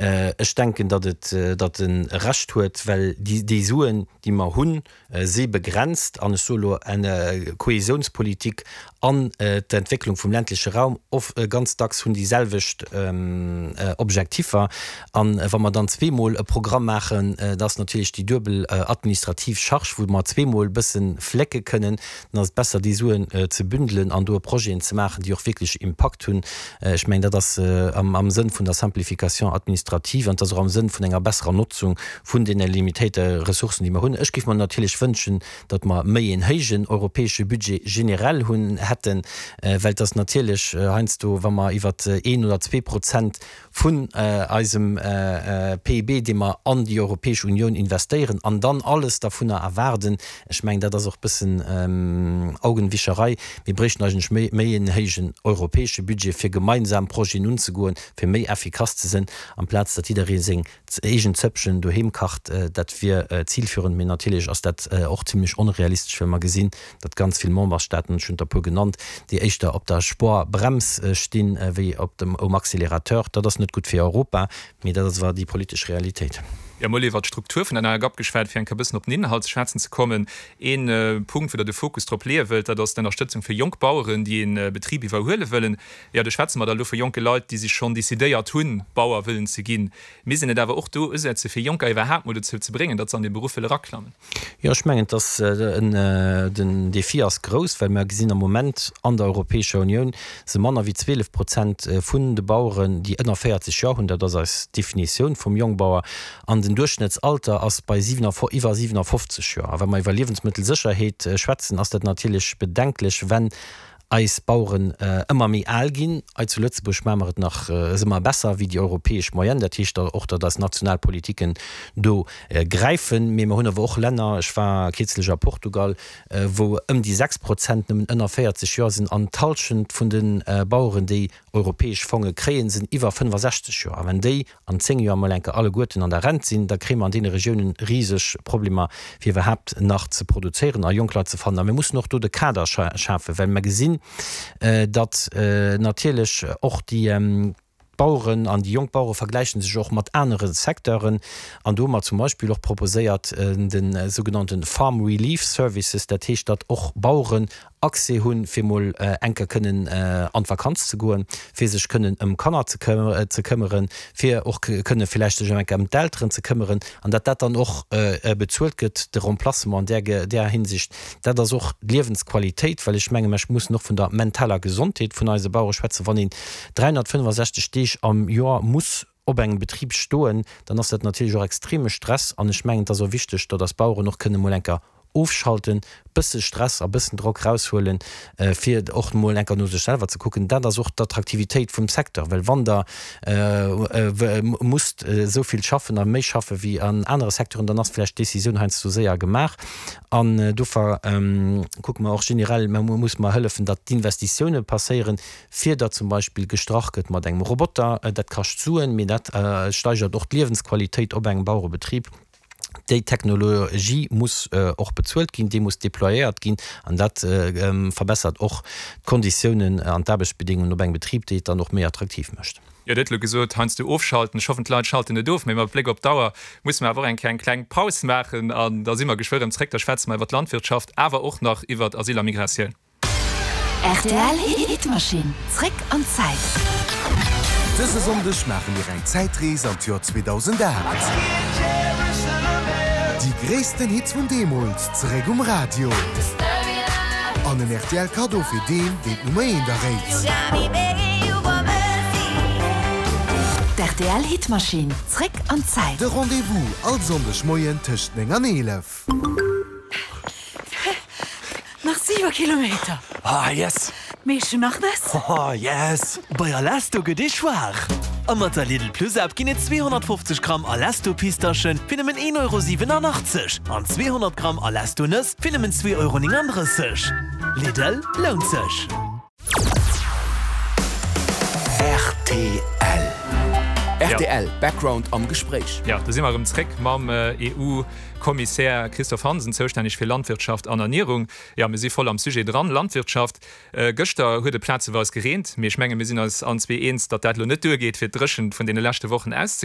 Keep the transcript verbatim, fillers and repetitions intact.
Ech denken, datt et, datt e Recht huet, well déi, déi Suen, déi mer hunn, si begrenzt. An ech soe lo, Kohäsiounspolitik an d'Entwécklung vum ländleche Raum of ganz dacks hunn déi selwecht Objektiffer. An wa mer dann zweemol e Programm maachen, da ass natierlech déi duebel administrativ Charge, wou mer zweemol e bësse flécke kënnen. Dann ass et besser, déi Suen ze bündelen an do Projeten ze maachen, déi och wierklech Impakt hunn. Ech mengen, dat ass am Sënn vun der Simplification administrative an et ass och am Sënn vun enger besserer Notzung vun deene limitéierte Ressourcen, déi mer hunn. Ech géif mer natierlech wënschen, datt mer méi een héijen europäesche Budget generell hunn hätten, well et ass natierlech heiansdo, wa mer iwwer een oder zwee Prozent vun eisem P I B, dee mer an déi Europäesch Unioun investéieren, an dann alles dervunner erwaarden, ech mengen, dat ass och e bëssen Augenwischerei. Mir bréichten eigentlech méi, méi een héijen europäesche Budget, fir gemeinsam Projeten unzegoen, fir méi effikass ze sinn, amplaz datt jidderee seng eegen Zëppchen doheem kacht. Dat wier zilführend, mee natierlech ass dat och zimlech onrealistesch, well mer gesinn, datt ganz vill Memberstaaten, ech hunn der e puer genannt, déi éischter op der Spuerbrems stinn, wéi op dem um Accélérateur. Dat ass net gutt fir Europa, mee dat ass awer déi politesch Realitéit. Jo, mol iwwert d'Struktur vun der neier GAP geschwat, fir eng Kéier bëssen op den Inhalt ze schwätzen ze kommen. Ee Punkt, wou Der de Fokus drop leeë wëllt, dat ass d'Ënnerstëtzung fir jonk Baueren, déi ee Betrib iwwerhuele wëllen. Jo, do schwätze mer da elo vu jonke Leit, déi sech schonn decidéiert hunn, Bauer wëllen ze ginn. Misst een net awer och do usetze fir Jonker iwwerhaapt mol dozou ze bréngen, datt se an dee Beruff wëlle eraklammen? Jo, ech mengen, dass den Défi ass grouss, well mer gesinn am Moment an der Europäescher Unioun se manner wéi zwielef Prozent vun de Baueren, déi ënner véierzeg Joer hunn. Dat ass eis Definitioun vum Jongbauer. An den Duerchschnëttsalter ass bei iwwer siwenafoffzeg Joer. A wa mer iwwer Liewensmëttelsécherheet schwätzen, ass dat natierlech bedenklech, wenn eis Baueren ëmmer méi al ginn. Hei zu Lëtzebuerg maache mer et nach, si mer besser wéi déi europäesch Moyenne. Dat heescht och, datt eis national Politiken do gräifen. Mee mer hunn awer och Länner, ech war kierzlech a Portugal, wou ëm déi sechs Prozent nëmmen ënner véierzeg Joer sinn an d'Hallschent vun de Baueren, déi europäesch Fonge kréien, sinn iwwer fënnefasechzeg Joer. A wenn déi an zéng Joer emol enker alleguerten an der Rent sinn, da kréie mer an deene Regiounen riseg Problemer, fir iwwerhaapt nach ze produzéieren a jonk Leit ze fannen. A mir mussen och do de Kader schafen, well mer gesinn, datt natierlech och déi Baueren an déi jonk Bauere vergläiche sech och mat anere Secteuren. An do hu mer zum Beispill och proposéiert de sougenannte Farm Relief Services, dat heescht, datt och Baueren Accès hunn, fir mol eng Kéier kënnen an d'Vakanz ze goen, fir sech kënnen ëm Kanner ze ze këmmeren, fir och kënne villäicht sech eng Kéier ëm d'Elteren ze këmmeren, an datt dat dann och bezuelt gëtt, de Remplacement an där där Hinsicht. Dat ass och d'Liewensqualitéit, well ech menge mer mussen och vun der mentaler Gesondheet vun eise Bauere schwätzen. Wann een dräihonnertfënnefasechzeg Deeg am Joer muss op engem Betrib stoen, dann ass dat natierlech och extreme Stress. An ech mengen, et ass och wichteg, datt eis Baueren och kënne mol eng Kéier ofschalten, bësse Stress a bëssen Drock raushuelen, fir och mol eng Kéier no sech selwer ze kucken. Dat ass och d'Attraktivitéit vum Secteur, well wann Der musst esou vill schaffen a méi schaffe wéi an anere Secteuren, dann ass vläicht d'Decisioun heiansdo séier gemaach. An dofir kucke mer och generell, mer musse mer hëllefen, datt d'Investitioune passéieren, fir datt zum Beispill gestrach gëtt mat engem Roboter. Dat kascht Suen, mee dat steigert och d'Liewensqualitéit op engem Bauerebetrib. Déi Technologie muss och bezuelt ginn, déi muss déployéiert ginn an dat verbessert och d'Konditiounen an d'Aarbechtsbedingungen op engem Betrib, déi et dann och méi attraktiv mécht. Jo, Dir hutt elo gesot, heiansdo ofschalten. Ech hoffen, d'Leit schalten net of, mee mat Bléck op d'Auer musse mer awer och eng Kéier eng kleng Paus maachen an da si mer geschwë rëm zréck. Da schwätze mer iwwer d'Landwirtschaft, awer och nach iwwer Asyl a Migratioun. R T L Hitmaschinn, zréck an d'Zäit. Dëse Sonndeg maache mir eng Zäitrees an d'Joer zweedausendacht. Déi gréissten Hits vun deemools zeréck um Radio. An en R T L Kaddo fir deen, deen d'Nummer eent erréit. D' R T L Hitmaschinn, zréck an d'Zäit. De Rendez-vous all Sonndeg Moien tëscht néng an eelef. Nach siwe Kilometer. Ah yes! Mee ech hunn nach Nëss. Oh yes! Bei Alesto gëtt ee schwaach. A mat der Lidl Plus App ginn et zweehonnertfofzeg Gramm Alesto Pistaschen fir nëmmen een Euro siwenanachtzeg an zweehonnert Gramm Alesto Nëss fir nëmmen zwee Euro nénganddrësseg. Lidl, lount sech! R T L R T L Background am Gespréich. Jo, do si mer erëm zréck mam E U-Kommissär Christophe Hansen, zoustänneg fir Landwirtschaft an Ernierung. Jo, mir si voll am Sujet dran, Landwirtschaft. Gëschter huet et plazeweis gereent, mee ech menge mir sinn eis allen zwee eens, datt dat elo net duergeet, fir d'Dréchent vun deene leschte Wochen auszegläichen.